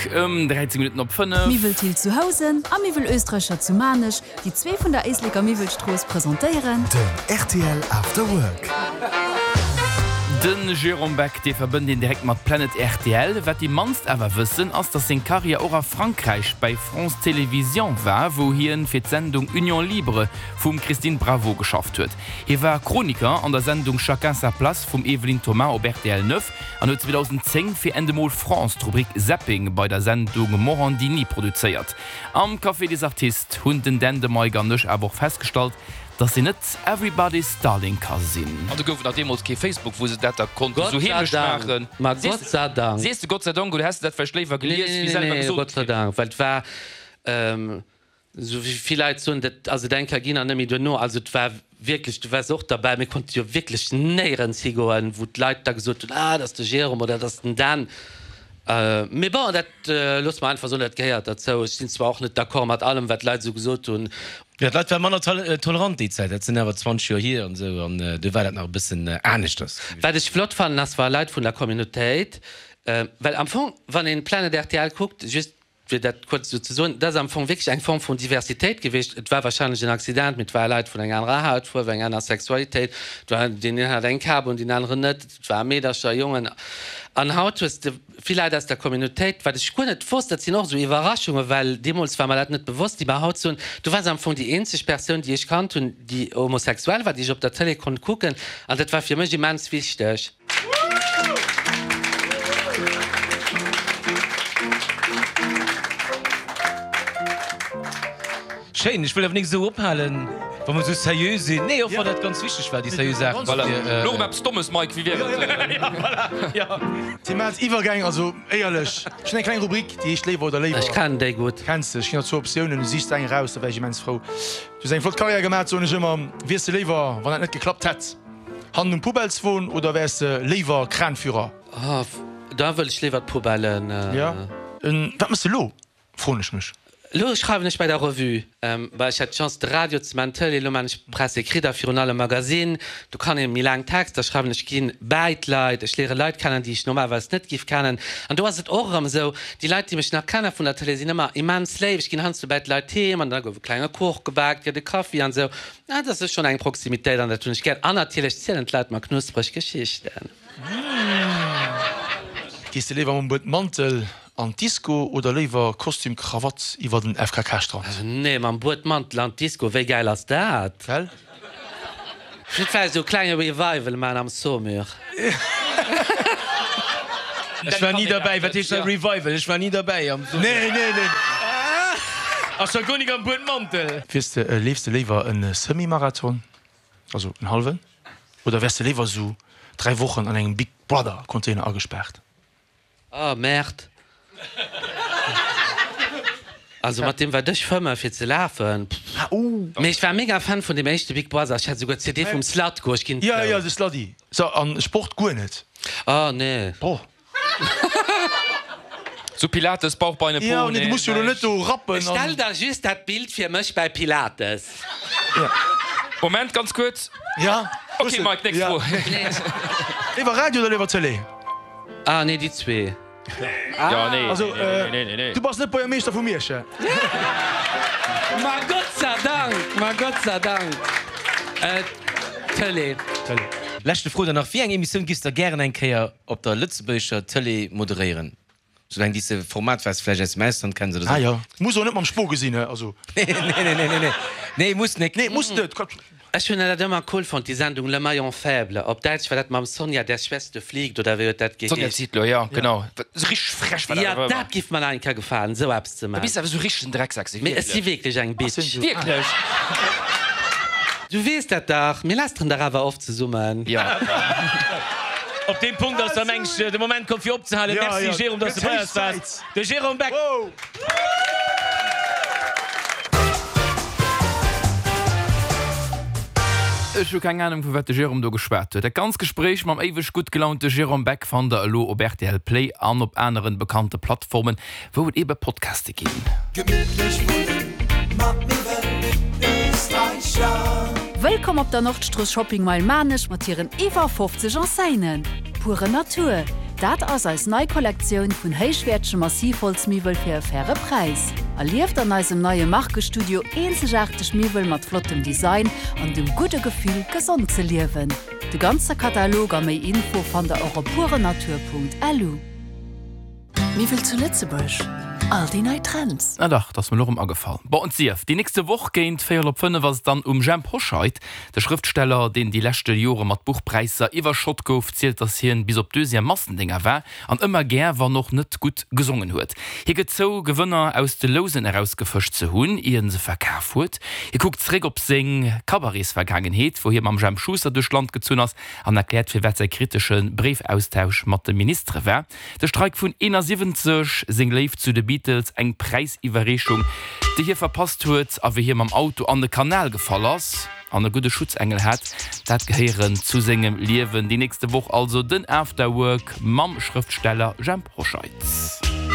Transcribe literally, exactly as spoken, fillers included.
Work ëm dräizéng Minutten op fënnef. Miwwel Thill zu Housen a Miwwel Oesträicher zu Maarnech, déi zwee vun der Éisleker Miwwelstrooss, presentéieren. Den rtl After Work. De Jérôme Beck, dee verbënnt een direkt mat Planet rtl. Wat déi mannst awer wëssen, ass, datt seng Karriär och a Frankräich bäi France Télévisions war, wou hien fir d'Sendung Union Libre vum Christine Bravo geschafft huet. Hie war Chroniker an der Sendung Chacun sa place vum Evelyne Thomas op rtl neuf an huet zweedausendzéng fir Endemol France d'Rubrik Zapping bei der Sendung Morandini produzéiert. Am Café des Artistes hunn den Dan, de Mike an ech awer och festgestallt, dass een net everybody's darling ka sinn. An do gouf et nach deemools kee Facebook, wou se dat da konnten Gott esou sei heemlech Dank. maachen. Ma Sees Gott sei Dank. Sees de Gott sei Dank oder häss de dat vläicht léiwer Nee, gelies, nee, wéi nee, selwer nee, gesot Gott sei kritt? Dank, well et war, esou wéi vill Leit soen, dat ass et eng Kéier ginn an net méi duerno. Also et war wierklech, du waars och derbäi, mir konnte jo wierklech néierens higoen, wou d'Leit da gesot hunn, ah, dat ass de Jérôme oder dat ass den Dan. Mee bon, dat loosse mer einfach soen, dat gehéiert derzou. Ech sinn zwar och net d'accord mat allem, wat d'Leit esou gesot hunn. Jo, d'Leit ware manner tolerant déi Zäit. Dat sinn awer zwanzeg Joer hier an esou, an do war dat nach e bëssen aneschters. Wat ech flott fannen, ass, wa Leit vun der Communautéit, well am Fong, wann een Planet rtl kuckt, just fir dat kuerz esou ze soen, dat ass am Fong wierklech eng Form vun Diversitéit gewiescht. Et war wahrscheinlech en Accident, mee et ware Leit vun enger anerer Hautfuerf, enger aner Sexualitéit, et war, deen een hat eng Kap un, deen aneren net, et ware Meedercher, Jongen. An haut hues de vill Leit aus der Communautéit, wat ech guer net wosst, dat sinn och esou Iwwerraschungen, well deemools war mer dat net bewosst, déi mer haut soen, du waars am Fong déi eenzeg Persoun, déi ech kannt hunn, déi homosexuell war, déi ech op der Tëlee konnt kucken, an dat war fir mech immens wichteg. Schéin, ech wëll awer nik esou ophalen, wa mer esou seriö sinn. Nee, och wann dat ganz wichteg war, déi seriö Saachen. Voilà, elo erëm eppes Dommes, Mike, wéi wier et? Ja, voilà, ja. Thema Iwwergäng, also éierlech, ech hunn eng kleng Rubrik, déi heescht Léiwer oder Léiwer. Ech kennen déi gutt. Kenns de? Ech ginn der zwou Optiounen, du sichs eng eraus, da wär ech immens frou. Du hues eng flott Karriär gemaach, soen ech ëmmer. Wiers de léiwer, wann dat net geklappt hätt, hannen um Poubelleswon oder wäers de léiwer Kranführer? Oh, da wëll ech léiwer d'Poubellen. Ja. Wat mëss de elo, froen ech mech. Elo schreiwen ech bei der Revue. Bah, ech hat d'Chance de Radio ze man, d'Tëlee, elo man ech Presse écrite a virun allem Magazine. Do kann ee méi laang Texter schreiwen. Ech ginn bäi d'Leit, ech léiere Leit kennen, déi ech normalerweis net giff kennen. An do ass et och erëm esou, déi Leit, déi mech nach kenne vun der Tëlee, sinn ëmmer immens léif. Ech ginn heiansdo bäi d'Leit heem an da gouf e klenge Kuch gebak, gëtt e Kaffi an esou. Dat ass schonn eng Proximitéit an dat hunn ech gär. An natierlech zielen d'Leit mer knuspreg Geschichten. Gees de léiwer mam Buedmantel an d'Disco oder léiwer Kostüm Krawatt iwwer den F K K Strand? Nee, mam Buedmantel an d'Disco, wéi gäil ass dat? Gell? Ech wëll vläicht esou e klenge Revival man am Saumur. Ech war ni derbäi. Wat heescht dat Revival? Ech war ni derbäi am Saumur. Nee, nee, nee. A scho guer nik am Buedmantel. Wiers de, leefs de léiwer e Semi-Marathon, also en hallwen, oder wäers de léiwer esou dräi Wochen an engem Big Brother Container agespaart? Oh Merde. Also mat deem wat ech fëmmen fir ze lafen. Mee ech war mega Fan vun deem éischte Big Brother. Ech hat souguer d'C D vum Zlatko. Ech ginn Ja, zou. ja, de Sladi. So, an Sport guer net? Oh nee. Oh. Sou Pilates, Bauch, Beine, Po, Ja, nee, du nee, muss jo lo net näischt. do rappen Stell an. der just dat Bild fir mech bäi Pilates. Moment, ganz kuerz. Ja, Okay, Mike, nächst ja. Fro. Léiwer Radio oder léiwer Tëlee? Ah nee, déi zwee. Ja, nee, Also, nee, nee, nee, nee, nee. Du bass net Buergermeeschter vu Miersch, hä? Ma Gott sei Dank, ma Gott sei Dank. Äh, Tëlee. Tëlee. Leschte Fro dann nach, Wéi eng Emissioun giffs der gären eng Kéier op der lëtzebuergescher Tëlee moderéieren? Soulaang déi s de Format wat s de vläicht aus dem Ausland kenns oder Ah sou. jo. Muss och net mam Spo gesinn, hä? Also. Nee, nee, nee, nee, nee, nee, muss nik. Nee, muss net. Ech hunn dat ëmmer cool fonnt, déi Sendung Le Maillon Faible. Op Däitsch war dat mam Sonja, der Schwester fliegt, oder wéi huet dat Sonja geheescht? Zietlow, ja, genau. Sou richteg frech war dat Ja, awer ëmmer. dat giff mer nach eng Kéier gefalen, sou eppes ze Da man. bis de awer sou richteg en Drecksak, sou Mee ech si wierklech. wierklech eng Bitch. Wierklech? Du weess dat dach, mir lästeren dach awer oft zesummen. Ja. Op deem Punkt ass da meng ech de Moment komm fir opzehalen. Ja, Merci ja. Jérôme, dass Gëtt de bei héich eis waars. Zäit. De Jérôme Beck. Wow. Ech hu keng Anung vu wat de Jérôme do geschwat huet. Dat ganzt Gespréich mam éiweg gutt gelaunte Jérôme Beck fannt der elo op R T L Play an op aneren bekannte Plattformen, wou et ebe Podcaste ginn. Gemütlich wunnen mat Miwwel Österreicher. Wëllkomm op der Nordstrooss Shopping Mile Maarnech mat hiren iwwer fofzeg Enseignen. Pure Natur, Dat ass eis nei Kollektioun vun héichwäertege Massivholzmiwwel fir e faire Präis. Erlieft an eisem neie Markestudio eenzegaarteg Miwwel mat flottem Design an dem gudde Gefill, gesond ze liewen. De ganze Katalog a méi Info fannt der och op purenatur.lu. Miwwel zu Lëtzebuerg, all déi nei Trends. Ah dach, dat ass mir elo erëm agefall. Bon, et sief, déi nächste Woch géint véierel op fënnef ass et dann um Jhemp Hoscheit. De Schrëftsteller, deen déi leschte Jore mat Buchpräisser iwwerschott gouf, zielt, datt hien bis op d'Deuxième Massendénger war an ëmmer gär, wann och net gutt, gesongen huet. Hie gëtt zou, Gewënner aus de Lousen erausgefëscht ze hunn, ier en se verkaf huet. Hie kuckt zeréck op seng Cabaretsvergaangenheet, wou hie mam Jemp Schuster duerch d'Land gezunn ass, an erkläert, firwat säi kritesche Bréifaustausch mat de Ministere war. De Streik vun eenasiwwenzeg, seng Léift zu de Beatles, eng Präisiwwerreechung, déi hie verpasst huet, a wéi hie mam Auto an de Kanal gefall ass an e gudde Schutzengel hat, dat gehéieren zu sengem Liewen. Déi nächste Woch also den After Work mam Schrëftsteller Jhemp Hoscheit.